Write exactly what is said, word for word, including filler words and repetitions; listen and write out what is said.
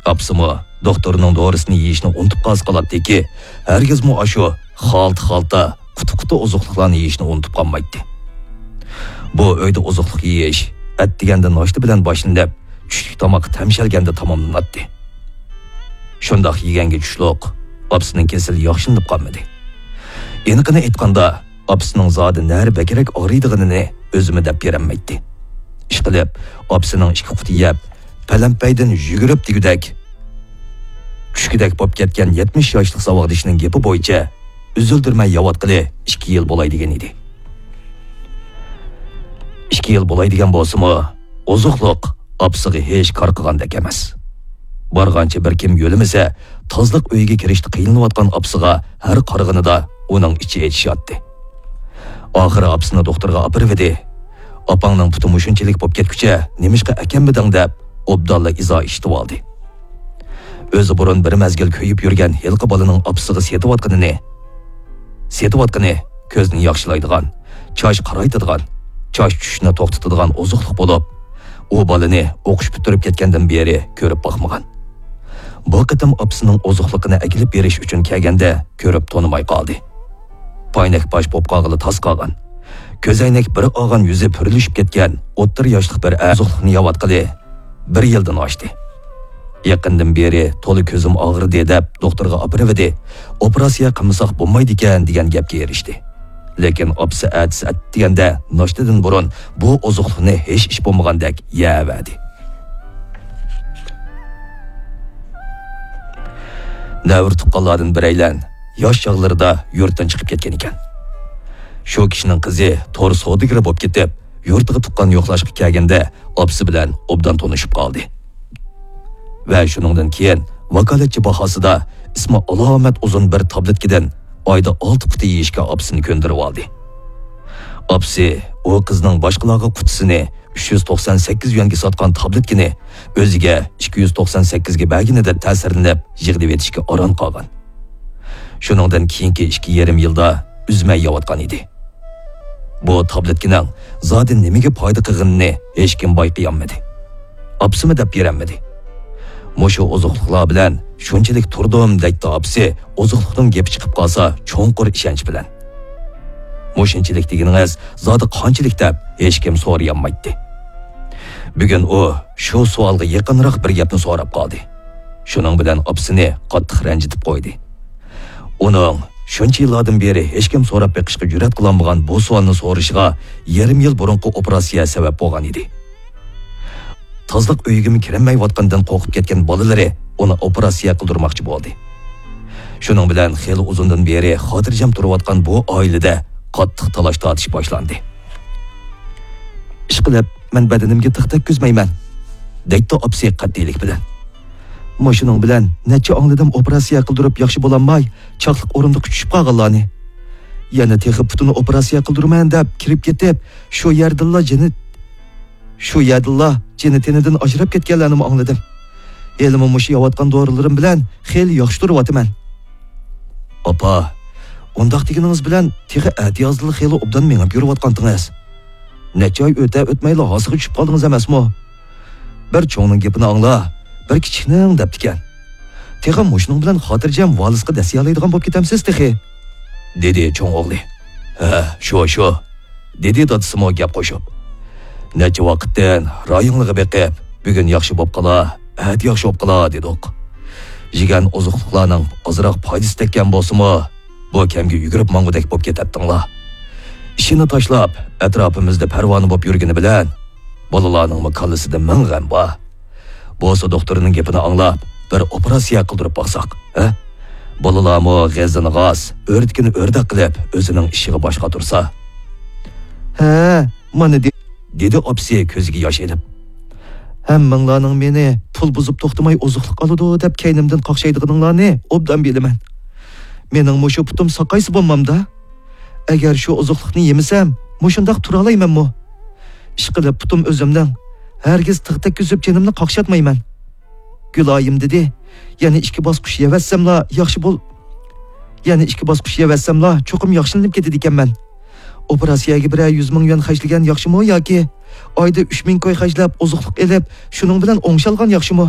ئاپىسىمۇ دوختۇرنىڭ دورىسىنى يېيىشنى ئۇنتۇپ قالسا قالاتتىكى، ھەرگىزمۇ ئاشۇ خالتا-خالتا، قۇتا-قۇتا ئوزۇقلۇقلارنى يېيىشنى ئۇنتۇپ قالمايتتى. بۇ ئۆيدە ئوزۇقلۇق يېيىش ئەتىگەندە ناشتا بىلەن باشلىنىپ، چۈشلۈك تاماق تەمشەلگەندە تاماملىناتتى. شۇنداق يېگەنگە چۈشلۈك ئاپىسىنىڭ كېسىلى ياخشىلىنىپ قالمىدى. ئېنىقىنى ئېيتقاندا، ئاپىسىنىڭ زادى نەرە بەكرەك ئاغرىيدىغىنىنى ئۆزىمۇ دەپ بېرەلمەيتتى. ئىشقىلىپ، ئاپىسىنىڭ ئىككى قۇتى يەپ، پەلەمپەيدىن يۈگۈرۈپ دېگۈدەك، چۈشكۈدەك بولۇپ كەتكەن يەتمىش ياشلىق ساۋاقدىشىنىڭ گېپى بويىچە ئۈزۈلدۈرمەي يەۋاتقىلى ئىككى يىل بولاي دېگەن ئىدى. ئىككى يىل بولاي دېگەن بولسىمۇ، ئوزۇقلۇق ئاپىسىغا ھېچ كار قىلغاندەك ئەمەس. بارغانچە بىر كىم يۆلىمىسە، تازىلىق ئۆيىگە كىرىشتە قىينىلىۋاتقان ئاپىسىغا ھەر قارىغىنىدا ئۇنىڭ ئىچى ئېچىشاتتى. ئاخىرى ئاپىسىنى دوختۇرغا ئاپىرىۋىدى. «ئاپاڭنىڭ پۇتى مۇشۇنچىلىك بولۇپ كەتكۈچە نېمىشقا ئەكەلمىدىڭ؟» دەپ، ئوبدانلا ئىزا ئىشلىتىۋالدى. ئۆزى بۇرۇن بىر مەزگىل كۆيۈپ يۈرگەن ھېلىقى بالىنىڭ ئاپىسىغا سېتىۋاتقىنىنى، سېتىۋاتقىنى كۆزنى ياخشىلايدىغان، چاچ قارايتىدىغان، چاچ چۈشۈشنى توختىتىدىغان ئوزۇقلۇق بولۇپ، ئۇ بالىنى ئوقۇش پۈتتۈرۈپ كەتكەندىن بېرى كۆرۈپ باقمىغان. بۇ قېتىم ئاپىسىنىڭ ئوزۇقلۇقىنى ئەكېلىپ بېرىش ئۈچۈن كەلگەندە كۆرۈپ تونۇماي قالدى. پاينەك باش بوپ قالغىلى تاس قالغان، كۆزەينەك بىر ئالغان يۈزى پۈرلىشىپ كەتكەن ئوتتۇرا ياشلىق بىر ئەر ئوزۇقلۇقنى يەۋاتقىلى بىر يىلدىن ئاشتى. يېقىندىن بېرى تولا كۆزۈم ئاغرىدى دەپ دوختۇرغا ئاپىرىۋىدى. ئوپېراتسىيە قىلمىساق بولمايدىكەن دېگەن گەپكە ئېرىشتى. لېكىن ئاپىسى ئەتىسى ئەتىگەندە ناشتىدىن بۇرۇن بۇ ئوزۇقلۇقنى ھېچ ئىش بولمىغاندەك يەۋەردى. نەۋرە تۇغقانلاردىن بىرەيلەن ياش چاغلىرىدا يۇرتتىن چىقىپ كەتكەن ئىكەن. شۇ كىشىنىڭ قىزى تور سودىگىرى بولۇپ كېتىپ، يۇرتىغا تۇغقان يوقلاشقا كەلگەندە ئاپىسى بىلەن ئوبدان تونۇشۇپ قالدى. ۋە شۇنىڭدىن كېيىن ۋاكالەتچى باھاسىدا ئىسمى ئالامەت ئۇزۇن بىر تابلېتكىدىن ئايدا ئالتە قۇتى يېيىشكە ئاپىسىنى كۆندۈرۈۋالدى. ئاپىسى ئۇ قىزنىڭ باشقىلارغا قۇتىسىنى ئۈچ يۈز توقسان سەككىز يۈەنگە ساتقان تابلېتكىنى ئۆزىگە ئىككى يۈز توقسان سەككىزگە بەرگىنىدىن تەسىرلىنىپ يىغلىۋېتىشكە ئاران قالغان. شۇنىڭدىن كېيىنكى ئىككى يېرىم يىلدا ئۈزمەي يەۋاتقان ئىدى. بۇ تابلېتكىنىڭ زادى نېمىگە پايدا قىلغىنىنى ھېچكىم بايقىيالمىدى. ئاپىسىمۇ دەپ بېرەلمىدى. مۇشۇ ئوزۇقلۇقلار بىلەن شۇنچىلىك تۇردۇم، دەيتتى ئاپىسى، ئوزۇقلۇقنىڭ گېپى چىقىپ قالسا چوڭقۇر ئىشەنچ بىلەن. مۇشۇنچىلىك دېگىنىڭىز زادى قانچىلىك دەپ ھېچكىم سورىيالمايتتى. بۈگۈن ئۇ شۇ سوئالغا يېقىنراق بىر گەپنى سوراپ قالدى. شۇنىڭ بىلەن ئاپىسىنى قاتتىق رەنجىتىپ قويدى. ئۇنىڭ شۇنچە يىللاردىن بېرى ھېچكىم سوراپ بېقىشقا جۈرئەت قىلالمىغان بۇ سوئالنى سورىشىغا يېرىم يىل بۇرۇنقى ئوپېراتسىيە سەۋەب بولغان ئىدى. تازىلىق ئۆيىگىمۇ كىرەلمەيۋاتقاندىن قورقۇپ كەتكەن بالىلىرى ئۇنى ئوپېراتسىيە قىلدۇرماقچى بولدى. شۇنىڭ بىلەن خېلى ئۇزۇندىن بېرى خاتىرجەم تۇرۇۋاتقان بۇ ئائىلىدە قاتتىق تالاش-تارتىش باشلاندى. «ئىشقىلىپ، مەن بەدىنىمگە تىغ تەگكۈزمەيمەن»، دەيتتى ئاپىسى قەتئىيلىك بىلەن. مۇشۇنىڭ بىلەن نەچچە ئاڭلىدىم ئوپېراتسىيە قىلدۇرۇپ ياخشى بولالماي، چاقلىق ئورۇندۇققا چۈشۈپ قالغانلارنى. يەنە تېخى پۇتىنى ئوپېراتسىيە قىلدۇرىمەن دەپ كىرىپ كېتىپ، شۇ يەردىنلا جېنى، شۇ يەردىنلا جېنى تېنىدىن ئاجراپ كەتكەنلەرنىمۇ ئاڭلىدىم. ھېلىمۇ مۇشۇ يەۋاتقان دورىلىرىم بىلەن خېلى ياخشى تۇرۇۋاتىمەن. ئاپا، ئۇنداق دېگىنىڭىز بىلەن تېخى ئەتىيازدىلا خېلى ئوبدان مېڭىپ يۈرۈۋاتقانتىڭىز. نەچچە ئاي ئۆتە ئۆتمەيلا ھاسىغا چۈشۈپ قالدىڭىز ئەمەسمۇ؟ بىر چوڭنىڭ گېپىنى ئاڭلا، بىر كىچىكنىڭ دەپتىكەن. تېخى مۇشۇنىڭ بىلەن خاتىرجەم ۋالىسقا دەسسىيەلەيدىغان بولۇپ كېتەمسىز تېخى؟ دېدى چوڭ ئوغلى. ھە، شۇ، شۇ، دېدى دادىسىمۇ گەپ قوشۇپ. نەچچە ۋاقىتتىن رايىڭلىغا بېقىپ، بۈگۈن ياخشى بوپ قالا، ئەتە ياخشى بوپ قالا دېدۇق. يېگەن ئوزۇقلۇقلارنىڭ ئازراق پايدىسى تەگكەن بولسىمۇ، بۇ كەمگە يۈگۈرۈپ ماڭغۇدەك بولۇپ كېتەتتىڭلار. ئىشىنى تاشلاپ، ئەتراپىمىزدا پەرۋانە بولۇپ يۈرگىنى بىلەن، بالىلارنىڭمۇ كاللىسىدا مىڭ غەم بار. بولسا دوختۇرنىڭ گېپىنى ئاڭلاپ، بىر ئوپېراتسىيە قىلدۇرۇپ باقساق، ھە؟ بالىلارمۇ غېزىنى غاز، ئۆردىكىنى ئۆردەك قىلىپ، ئۆزىنىڭ ئىشىغا باش قاتۇرسا. ھە، مانا دې-، دېدى ئاپىسى كۆزىگە ياش ئېلىپ. ھەممىڭلارنىڭ مېنى پۇل بۇزۇپ توختىماي ئوزۇقلۇق ئالىدۇ دەپ كەينىمدىن قاقشايدىغىنىڭلارنى ئوبدان بىلىمەن. مېنىڭ مۇشۇ پۇتۇم ساقايسا بولمامدا؟ ئەگەر شۇ ئوزۇقلۇقنى يېمىسەم، مۇشۇنداق تۇرالايمەنمۇ؟ ئىشقىلىپ پۇتۇم ئۆزۈمنىڭ، ھەرگىز تىغ تەگكۈزۈپ جېنىمنى قاقشاتمايمەن. گۈلايىم دېدى، يەنە ئىككى باسقۇچ يەۋەتسەملا ياخشى بول-، يەنە ئىككى باسقۇچ يەۋەتسەملا چوقۇم ياخشىلىنىپ كېتىدىكەنمەن. ئوپېراتسىيەگە بىرەر يۈز مىڭ يۈەن خەجلىگەن ياخشىمۇ ياكى ئايدا ئۈچ مىڭ كوي خەجلەپ ئوزۇقلۇق ئېلىپ، شۇنىڭ بىلەن ئوڭشالغان ياخشىمۇ؟